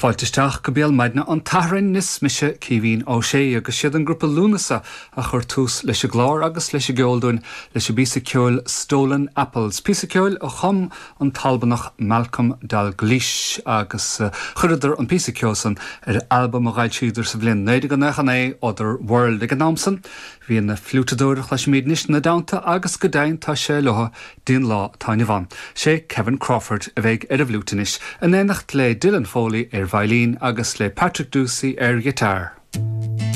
Fáilte isteach go Béal Maidine an tSathairn, is mise Caoimhín Ó Sé agus siad an grúpa Lúnasa a chuir tús leis an gclár agus leis an gceol dúinn leis an bpíosa ceoil Stolen Apples, píosa ceoil a chum an tAlbanach Malcolm Dalglish agus chuireadar an píosa ceoil san ar albam a dh'fhoilsíodar sa bhliain 1999, Other World. Ag an am san bhí an fliúiteadóir a chloisimid anois ina dteannta agus go deimhin tá sé leo dtí'n lá atá inniu ann. Sé Kevin Crawford a bheidh ar an bhfliúit anois, in éineacht le Dylan Foley ar veidhlín agus le Patrick Doocey ar ghiotár.